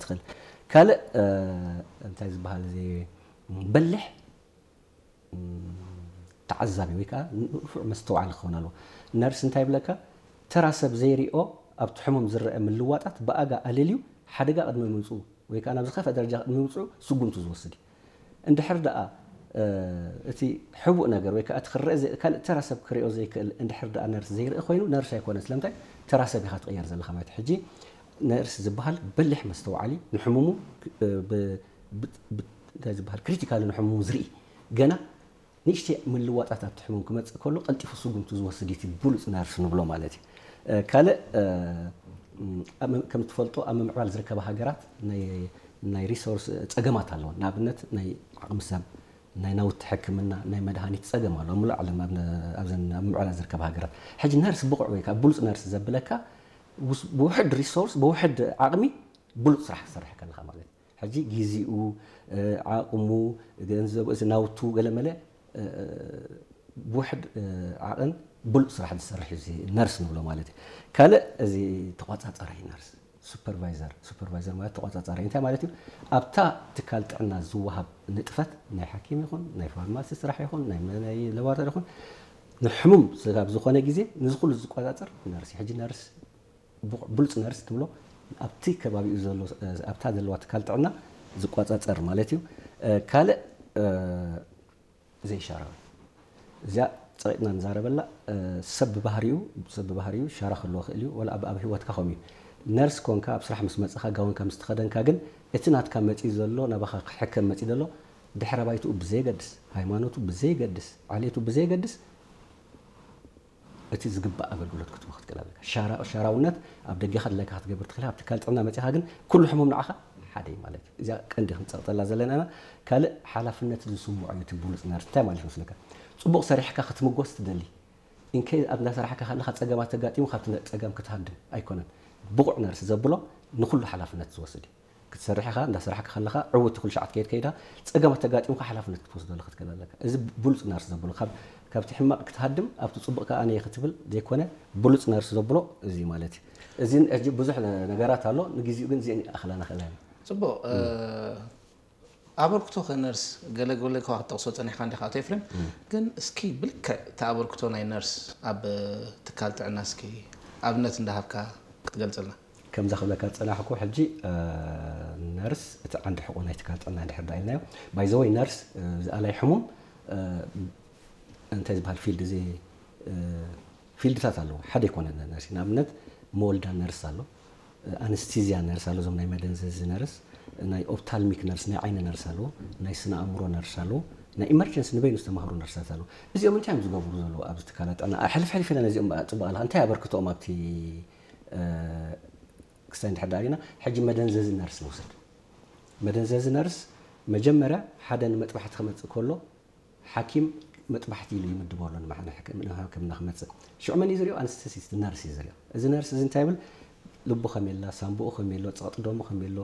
ትኽእል። ካልእ እንታይ ዝበሃል እዚ በሊሕ ተዓዛቢ ወይ ከዓ ንፉዕ መስተውዓሊ ክኸውን ኣለዎ። ነርስ እንታይ ይብለካ? ተራ ሰብ ዘይሪኦ ኣብቲ ሕሙም ዝረአ ምልዋጣት ብኣጋ ኣለልዩ ሓደጋ ቅድሚ ምምፅኡ ወይ ከዓ ናብ ዝኸፍአ ደረጃ ቅድሚ ምምፅኡ ስጉምቱ ዝወስድ እዩ። እንድሕር ደኣ እቲ ሕቡእ ነገር ወይ ከዓ እቲ ክረአ ካልእ ተራ ሰብ ክሪኦ ዘይክእል እንድሕር ደኣ ነርስ ዘይርኢ ኮይኑ ነርስ ኣይኮነን። ስለምንታይ? ተራ ሰብ ኢኻ ትቕየር ዘለኻ ማለት ሕጂ ነርስ ዝበሃል በሊሕ መስተውዓሊ ንሕሙሙ እንታይ ዝበሃል ክሪቲካሊ ንሕሙሙ ዝርኢ ገና ንእሽተይ ምልዋጣት ኣብቲ ሕሙም ክመፅእ ከሎ ቀልጢፉ ስጉምቱ ዝወስድ እቲ ብሉፅ ነርስ ንብሎ ማለት እዩ። ካልእ ከም ትፈልጦ ኣብ ምምዕባል ዝርከባ ሃገራት ናይ ሪሶርስ ፀገማት ኣለዎ። ንኣብነት ናይ ዓቕሚ ሰብ፣ ናይ ናውቲ ሕክምና፣ ናይ መድሃኒት ፀገም ኣሎ ኣብ ሙሉእ ዓለም ኣብዘን ኣብ ምምዕባል ዝርከባ ሃገራት። ሕጂ ነርስ ብቑዕ ወይ ከዓ ብሉፅ ነርስ ዘብለካ ብውሕድ ሪሶርስ ብውሕድ ዓቕሚ ብሉፅ ስራሕ ክሰርሕ ከለካ ማለት እዩ። ሕጂ ግዜኡ፣ ዓቕሙ፣ ገንዘቡ፣ እዚ ናውቱ ገለመለ ብውሕድ ዓቕን ብሉፅ ስራሕ ዝሰርሕ እዩ ነርስ ንብሎ ማለት እዩ። ካልእ እዚ ተቋፃፃራይ ነርስ ሱፐርቫይዘር ሱፐርቫይዘር ማለት ተቋፃፃራይ እንታይ ማለት እዩ? ኣብታ ትካል ጥዕና ዝወሃብ ንጥፈት ናይ ሓኪም ይኹን ናይ ፋርማሲ ስራሕ ይኹን ናይ ለባራቶሪ ይኹን ንሕሙም ስጋብ ዝኾነ ግዜ ንዚ ኩሉ ዝቆፃፀር ነርስ ሕጂ ነርስ ብሉፅ ነርስ ትብሎ ኣብቲ ከባቢኡ ዘሎ ኣብታ ዘለዋ ትካል ጥዕና ዝቆፃፀር ማለት እዩ። ካልእ ዘይሻራዊ እዚኣ ፀቂጥና ንዛረበላ ሰብ ብባህሪኡ ሰብ ብባህሪኡ ሻራ ክህልዎ ክእል እዩ ወላ ኣብ ኣብ ህይወትካ ከምኡ እዩ። ነርስ ኮንካ ኣብ ስራሕ ምስ መፅኻ ጋውንካ ምስ ተኸደንካ ግን እቲ ናትካ መፂኡ ዘሎ ናባኻ ክሕከም መፂኡ ዘሎ ድሕረ ባይትኡ ብዘየገድስ ሃይማኖቱ ብዘየገድስ ዓሌቱ ብዘየገድስ እቲ ዝግባእ ኣገልግሎት ክትቦ ክትክእል ኣለካ። ሻራውነት ኣብ ደገኻ ድላይካ ክትገብር ትኽእል ኣብ ትካል ጥዕና መፂኻ ግን ኩሉ ሕሙም ንዓኻ ሓደ እዩ ማለት እዩ። እዚኣ ቀንዲ ክንፀቕጠላ ዘለና ኢና። ካልእ ሓላፍነት ዝስምዖ እዩ እቲ ብሉፅ ነርስ እንታይ ማለት መስለካ? ፅቡቕ ሰሪሕካ ክትምጎስ ትደሊ። ኢንኬ ኣብ እንዳሰራሕካ ከለካ ፀገማት ተጋጢሙ ካብቲ ፀገም ክትሃድም ኣይኮነን። ብቑዕ ነርስ ዘብሎ ንኩሉ ሓላፍነት ዝወስድ እዩ። ክትሰርሕ ኢኻ እንዳሰራሕካ ከለኻ ዕውቲ ኩሉ ሻዕ ትከይድ ከይዳ ፀገማት ተጋጢሙካ ሓላፍነት ክትወስደሉ ክትክእል ኣለካ። እዚ ብሉፅ ነርስ ዘብሎ ካብቲ ሕማቕ ክትሃድም ኣብቲ ፅቡቕ ከዓ ኣነ ክትብል ዘይኮነ ብሉፅ ነርስ ዘብሎ እዚ ማለት እዩ። እዚ ሕጂ ብዙሕ ነገራት ኣሎ። ንግዚኡ ግን እዚአን ይኣኽላና ክእላ። ፅቡቕ ኣበርክቶ ከነርስ ገለ ገለ ከዋ ክትጠቕሶ ፀኒሕካ እንዲኻ ኣቶ ኤፍሬም። ግን እስኪ ብልክዕ እቲ ኣበርክቶ ናይ ነርስ ኣብ ትካል ጥዕና እስኪ ኣብነት እንዳሃብካ ክትገልፅልና። ከምዛ ክብለካ ዝፀናሕኩ ሕጂ ነርስ እቲ ዓንዲ ሕቆ ናይ ትካል ጥዕና እንድሕር ዳ ኢልናዮ ባይዘወይ ነርስ ዝኣላይ ሕሙም እንታይ ዝበሃል ፊልድ እዚ ፊልድታት ኣለዎ ሓደ ይኮነ ነርስ ንኣብነት መወልዳ ነርስ ኣሎ ኣንስቲዝያ ነርስ ኣሎ እዞም ናይ መደንዘዚ ነርስ ናይ ኦፕታልሚክ ነርስ ናይ ዓይኒ ነርስ ኣለዎ ናይ ስነ ኣእምሮ ነርስ ኣለዎ ናይ ኢመርጀንሲ ንበይኑ ዝተማህሩ ነርሳት ኣለዎ እዚኦም እንታይ እዮም ዝገብሩ ዘለዉ ኣብዚ ትካላት ጥዕና ሕልፍ ሕልፍ ኢለ ነዚኦም ፅቡቅ ኣለካ እንታይ ኣበርክቶኦም ኣብቲ ክስታይ እንድሕር ዳሪና ሕጂ መደንዘዚ ነርስ ንውሰድ መደንዘዚ ነርስ መጀመርያ ሓደ ንመጥባሕቲ ክመፅእ ከሎ ሓኪም መጥባሕቲ ኢሉ ይምድቦ ኣሎ ንሕክምና ክመፅእ ሽዑ መን እዩ ዝሪኦ ኣንስተሲስት ነርስ እዩ ዝሪኦ እዚ ነርስ እዚ እንታይ ይብል ልቡ ከመይ ኣላ ሳምብኡ ከመይ ኣሎ ፀቕጢ ደሙ ከመይ ኣሎ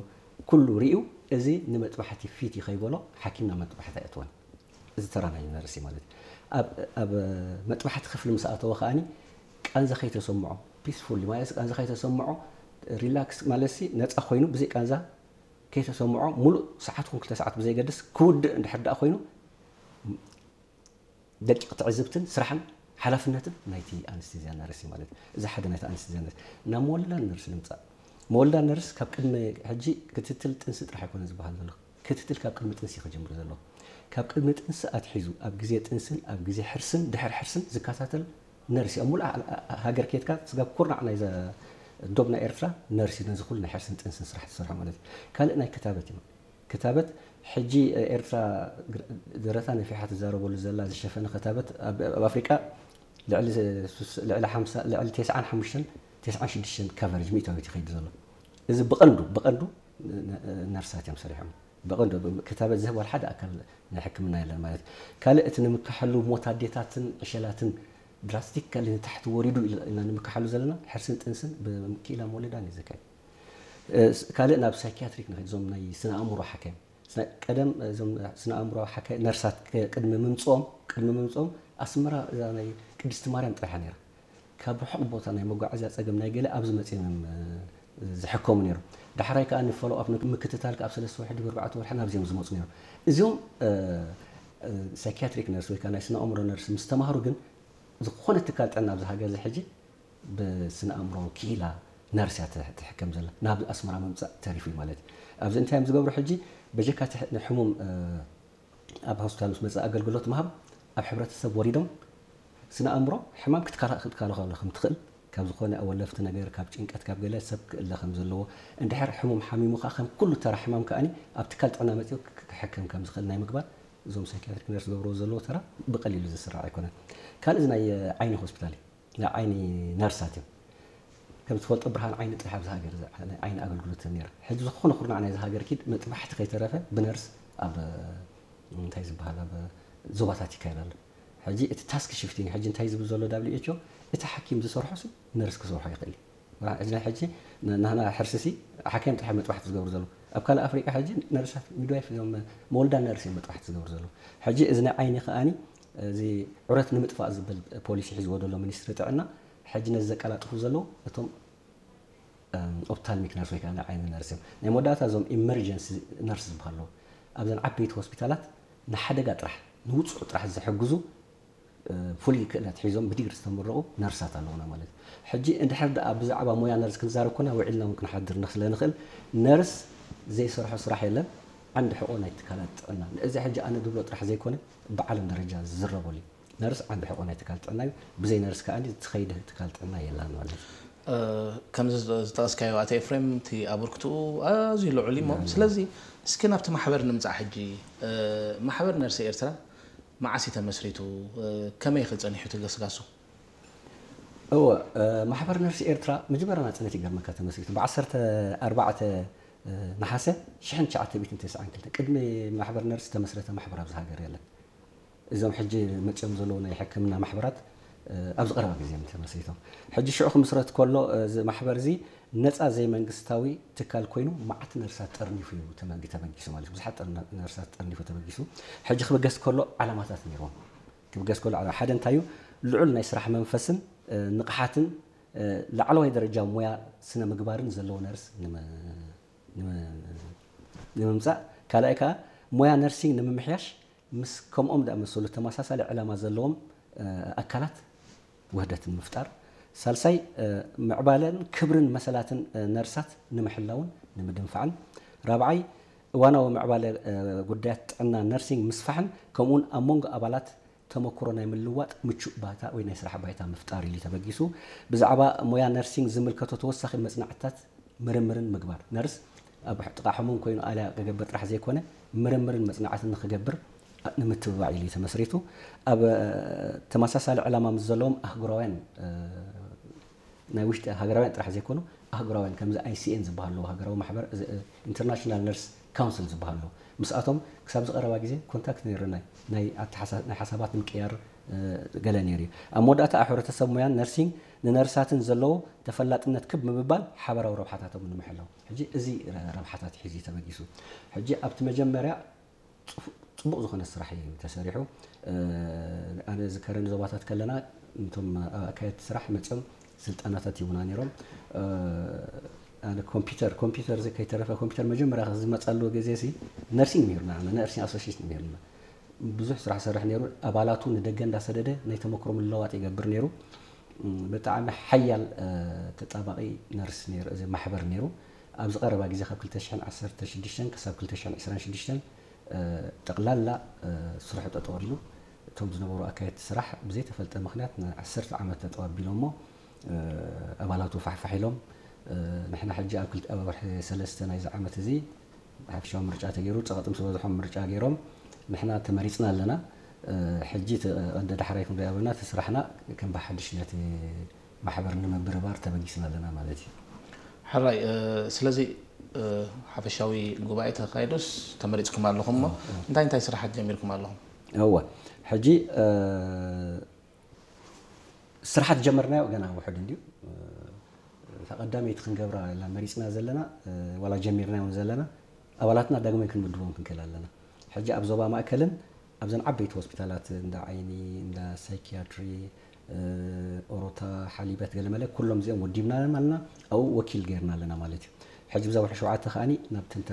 ኩሉ ሪኡ እዚ ንመጥባሕቲ ፊት እዩ ከይበሎ ሓኪም ናብ መጥባሕቲ ኣየእትወን እዚ ተራ ናይ ነርሲ ማለት እዩ ኣብ መጥባሕቲ ክፍሊ ምስ ኣተወ ከዓኒ ቃንዛ ከይተሰምዖ ፒስፉል ማለት ቃንዛ ከይተሰምዖ ሪላክስ ማለት ነፃ ኮይኑ ብዘይ ቃንዛ ከይተሰምዖ ሙሉእ ሰዓት ኹን ክልተ ሰዓት ብዘይገድስ ክውድእ እንድሕር ደኣ ኮይኑ ደቂቕ ትዕዝብትን ስራሕን ሓላፍነትን ናይቲ ኣንስቴዝያ ነርስ ማለት እዩ። እዚ ሓደ ናይቲ ኣንስቴዝያ ነርስ ናብ መወልዳ ነርስ ንምፃእ መወልዳ ነርስ ካብ ቅድሚ ሕጂ ክትትል ጥንሲ ጥራሕ ኣይኮነ ዝበሃል ዘሎ ክትትል ካብ ቅድሚ ጥንሲ ክጅምር ዘለዎ ካብ ቅድሚ ጥንሲ ኣትሒዙ ኣብ ግዜ ጥንስን ኣብ ግዜ ሕርስን ድሕር ሕርስን ዝከታተል ነርሲ ኣብ ሙሉእ ሃገር ኬድካ ስጋብ ኩርናዕ ናይ ዶብ ናይ ኤርትራ ነርሲ ነዚ ኩሉ ናይ ሕርስን ጥንስን ስራሕ ትሰርሖ ማለት እዩ። ካልእ ናይ ክታበት እዩ። ክታበት ሕጂ ኤርትራ ደረታ ነፊሓ ትዛረበሉ ዘላ ዝሸፈነ ክታበት ኣብ ኣፍሪቃ ልዕሊ ልዕሊ ሓምሳ ልዕሊ ተስዓን ሓሙሽተን ተስዓን ሽዱሽተን ካቨሬጅ ሚእታዊት ይኸይድ ዘሎ። እዚ ብቐንዱ ብቐንዱ ነርሳት እዮም ሰሪሖም። ብቐንዱ ክታበት ዝህብ ዋላ ሓደ ኣካል ናይ ሕክምና የለን ማለት እዩ። ካልእ እቲ ንምክሓሉ ሞት ኣዴታትን ዕሸላትን ድራስቲካሊ ንታሕቲ ወሪዱ ኢና ንምክሓሉ ዘለና ሕርስን ጥንስን ብክኢላ መወለዳን እዩ ዝካየድ። ካልእ ናብ ሳይኪያትሪክ ንኸይድ እዞም ናይ ስነ ኣእምሮ ሓካይም ቀደም እዞም ስነ ኣእምሮ ሓካይ ነርሳት ቅድሚ ምምፅኦም ቅድሚ ምምፅኦም ኣስመራ እዛ ናይ ቅድስቲ ማርያም ጥራሓ ነይራ ካብ ርሑቕ ቦታ ናይ መጓዓዝያ ፀገም ናይ ገለ ኣብዚ መፂኦም እዮም ዝሕከሙ ነይሮም ዳሕራይ ከዓ ንፎሎ ኣፕ ምክትታል ካብ ሰለስተ ወርሒ ድሕሪ ኣርባዕተ ወርሒ ናብዚኦም ዝመፁ ነይሮም። እዚኦም ሳይኪያትሪክ ነርስ ወይ ከዓ ናይ ስነ ኣእምሮ ነርስ ምስ ተማሃሩ ግን ዝኾነ ትካል ጥዕና ኣብዚ ሃገር እዚ ሕጂ ብስነ ኣእምሮ ክኢላ ነርስ እያ ትሕከም ዘላ። ናብ ኣስመራ ምምፃእ ተሪፉ እዩ ማለት እዩ። ኣብዚ እንታይ እዮም ዝገብሩ ሕጂ? በጀካ ሕሙም ኣብ ሆስፒታል ምስ መፀ ኣገልግሎት ምሃብ ኣብ ሕብረተሰብ ወሪዶም ስነ ኣእምሮ ሕማም ክትከላኸሎ ከም ትኽእል ካብ ዝኾነ ኣወለፍቲ ነገር ካብ ጭንቀት ካብ ገለ ሰብ ክእለ ከም ዘለዎ እንድሕር ሕሙም ሓሚሙ ከዓ ከም ኩሉ ተራ ሕማም ከኣኒ ኣብ ትካል ጥዕና መፅኡ ክሕከም ከም ዝኽእል ናይ ምግባር እዞም ሳይኪያትሪክ ነርስ ዝገብርዎ ዘለዎ ተራ ብቐሊሉ ዝስራዕ ኣይኮነን። ካልእ ናይ ዓይኒ ሆስፒታል እዩ። ናይ ዓይኒ ነርሳት እዮም። ከም ትፈልጦ ብርሃን ዓይኒ ጥራሕ ኣብዚ ሃገር ናይ ዓይኒ ኣገልግሎት ነይራ። ሕጂ ዝኾነ ኩርናዕ ናይዚ ሃገር ኪድ መጥባሕቲ ከይተረፈ ብነርስ ኣብ እንታይ ዝበሃል ኣብ ዞባታት ይካየድ ኣሎ። ሕጂ እቲ ታስክ ሽፍቲንግ ሕጂ እንታይ ዝብል ዘሎ ዳብሊው ኤች ኦ እቲ ሓኪም ዝሰርሖ ሲ ነርስ ክሰርሖ ይኽእል እዩ። ሕጂ ናይ ሕጂ ናህና ሕርሲ ሲ ሓካይም ጥራሕ መጥባሕቲ ዝገብሩ ዘለዉ። ኣብ ካልእ ኣፍሪቃ ሕጂ ነርሳት ሚድዋይፍ እዞም መወልዳ ነርስ እዮም መጥባሕቲ ዝገብሩ ዘለዉ። ሕጂ እዚ ናይ ዓይኒ ከኣኒ እዚ ዑረት ንምጥፋእ ዝብል ፖሊሲ ሒዝዎ ዘሎ ሚኒስትሪ ጥዕና ሕጂ ነዚ ዘቀላጥፉ ዘለዉ እቶም ኦፕታልሚክ ነርስ ወይ ከዓ ናይ ዓይኒ ነርስ እዮም። ናይ መወዳእታ እዞም ኢመርጀንሲ ነርስ ዝበሃሉ ኣለዉ። ኣብዘን ዓበይቲ ሆስፒታላት ንሓደጋ ጥራሕ ንውፁዕ ጥራሕ ዝሕግዙ ፍሉይ ክእለት ሒዞም ብዲግሪ ዝተመረቑ ነርሳት ኣለዉና ማለት እዩ። ሕጂ እንድሕር ደኣ ብዛዕባ ሞያ ነርስ ክንዛረብ ኮና ውዒልና እውን ክንሓድር ስለ ንኽእል ነርስ ዘይሰርሖ ስራሕ የለን። ዓንዲ ሕቆ ናይ ትካላት ጥዕና እዚ ሕጂ ኣነ ድብሎ ጥራሕ ዘይኮነ ብዓለም ደረጃ ዝዝረበሉ እዩ። ነርስ ዓንዲ ሕቆ ናይ ትካል ጥዕና እዩ። ብዘይ ነርስ ከዓ ዝኸይድ ትካል ጥዕና የላን ማለት እዩ። ከምዚ ዝጠቀስካዮ ኣቶ ኤፍሬም እቲ ኣበርክትኡ ኣዝዩ ልዑል እዩ። ስለዚ እስኪ ናብቲ ማሕበር ንምፃእ ሕጂ ማሕበር ነርሲ ኤርትራ መዓስ እዩ ተመስሪቱ? ከመይ ክፀኒሑ ትገስጋሱ? እወ ማሕበር ነርሲ ኤርትራ መጀመርያ ናፅነት ይገርመካ ተመስሪቱ ብዓሰርተ ኣርባዕተ ነሓሰ ሽሕን ትሽዓተ ሚእትን ተስዓን ክልተን ቅድሚ ማሕበር ነርሲ ተመስረተ ማሕበር ኣብዚ ሃገር የለን። እዞም ሕጂ መፅኦም ዘለዉ ናይ ሕክምና ማሕበራት ኣብዚ ቀረባ ግዜ እዮም ተመስሪቶም። ሕጂ ሽዑ ክምስረት ከሎ እዚ ማሕበር እዚ ነፃ ዘይመንግስታዊ ትካል ኮይኑ መዓት ነርሳት ጠርኒፉ እዩ ተመጊ ተበጊሱ ማለት እዩ። ብዙሓት ጠርና- ነርሳት ጠርኒፉ ተበጊሱ። ሕጂ ክብገስ ከሎ ዓላማታት ነይርዎም። ክብገስ ከሎ ዓላ- ሓደ እንታይ እዩ? ልዑል ናይ ስራሕ መንፈስን ንቕሓትን ላዕለዋይ ደረጃ ሞያ ስነ ምግባርን ዘለዎ ነርስ ንምምፃእ፣ ካልኣይ ከዓ ሞያ ነርሲንግ ንምምሕያሽ ምስ ከምኦም ዝኣመሰሉ ተመሳሳሊ ዕላማ ዘለዎም ኣካላት ውህደት ንምፍጣር፣ ሳልሳይ ምዕባለን ክብርን መሰላትን ነርሳት ንምሕላውን ንምድንፋዕን፣ ራብዓይ እዋናዊ ምዕባለ ጉዳያት ጥዕና ነርሲንግ ምስፋሕን ከምኡውን ኣብ መንጎ ኣባላት ተመክሮ ናይ ምልውዋጥ ምቹእ ባይታ ወይ ናይ ስራሕ ባይታ ምፍጣር ኢሉ ተበጊሱ። ብዛዕባ ሞያ ነርሲንግ ዝምልከቶ ተወሳኺ መፅናዕትታት ምርምርን ምግባር። ነርስ ኣብ ጥቓ ሕሙም ኮይኑ ኣልያ ክገብር ጥራሕ ዘይኮነ ምርምርን መፅናዕትን ንክገብር ንምትብባዕ ኢሉ ተመስሪቱ። ኣብ ተመሳሳሊ ዕላማ ምስ ዘለዎም ኣህጉራውያን ናይ ውሽጢ ሃገራውያን ጥራሕ ዘይኮኑ ኣህጉራውያን ከምዚ ኣይሲኤን ዝበሃሉ ሃገራዊ ማሕበር ኢንተርናሽናል ነርስ ካውንስል ዝበሃሉ ምስኣቶም ክሳብ ዝቐረባ ግዜ ኮንታክት ነይሩና ናይ ሓሳባት ምቅያር ገለ ነይሩ እዩ። ኣብ መወዳእታ ኣብ ሕብረተሰብ ሙያን ነርሲንግ ንነርሳትን ዘለዎ ተፈላጥነት ክብ ምብባል ሓበራዊ ረብሓታቶም ንምሕላው ሕጂ እዚ ረብሓታት ሒዙ ተበጊሱ። ሕጂ ኣብቲ መጀመርያ ፅቡቕ ዝኾነ ስራሕ እዩ ተሰሪሑ። ኣነ ዝከረኒ ዞባታት ከለና እቶም ኣካየድቲ ስራሕ መፅኦም ስልጠናታት ይቡና ነይሮም። ኣነ ኮምፒውተር ኮምፒውተር ከይተረፈ ኮምፒውተር መጀመርያ ዝመፃሉ ግዜ ሲ ነርሲንግ ነይሩና ነርሲንግ ኣሶሲሽን ነይሩና። ብዙሕ ስራሕ ሰርሕ ነይሩ። ኣባላቱ ንደገ እንዳሰደደ ናይ ተመክሮ ምልውዋጥ ይገብር ነይሩ። ብጣዕሚ ሓያል ተጣባቂ ነርስ ነይሩ እዚ ማሕበር ነይሩ። ኣብዚ ቀረባ ግዜ ካብ ክልተ ሽሕን ዓሰርተ ሽዱሽተን ክሳብ ክልተ ሽሕን ዕስራን ሽዱሽተን ጠቕላላ ስርሑ ጠጠው ኣቢሉ እቶም ዝነበሩ ኣካየድቲ ስራሕ ብዘይተፈልጠ ምክንያት ንዓሰርተ ዓመት ጠጠው ኣቢሎሞ ኣባላቱ ፋሕፋሕ ኢሎም ንሕና ሕጂ ኣብ ክልተ ኣብ ወርሒ ሰለስተ ናይዚ ዓመት እዚ ሓፈሻዊ ምርጫ ተገይሩ ፀቐጢ ምስ በዝሖም ምርጫ ገይሮም ንሕና ተመሪፅና ኣለና። ሕጂ እቲ ቀንዲ ዳሕራይ ክንሪኦ ኣለና እቲ ስራሕና ከም ብሓድሽ ነቲ ማሕበር ንምብርባር ተበጊስና ኣለና ማለት እዩ። ሕራይ ስለዚ ሓፈሻዊ ጉባኤ ተካይዱስ ተመሪፅኩም ኣለኹም እሞ እንታይ እንታይ ስራሓት ጀሚርኩም ኣለኹም? እወ ሕጂ ስራሓት ጀመርናዮ ገና ውሕድ እንድዩ። እታ ቀዳመይቲ ክንገብራ ኢልና መሪፅና ዘለና ዋላ ጀሚርናዮ እውን ዘለና ኣባላትና ዳግማይ ክንምድቦም ክንክእል ኣለና። ሕጂ ኣብ ዞባ ማእከልን ኣብዘን ዓበይቲ ሆስፒታላት እንዳ ዓይኒ፣ እንዳ ሳይኪያትሪ፣ ኦሮታ፣ ሓሊበት ገለመለ ኩሎም እዚኦም ወዲብናዮም ኣለና። ኣብኡ ወኪል ገይርና ኣለና ማለት እዩ። ሕጂ ብዛ ወርሒ ሸውዓተ ከኣ ናብ ትንተና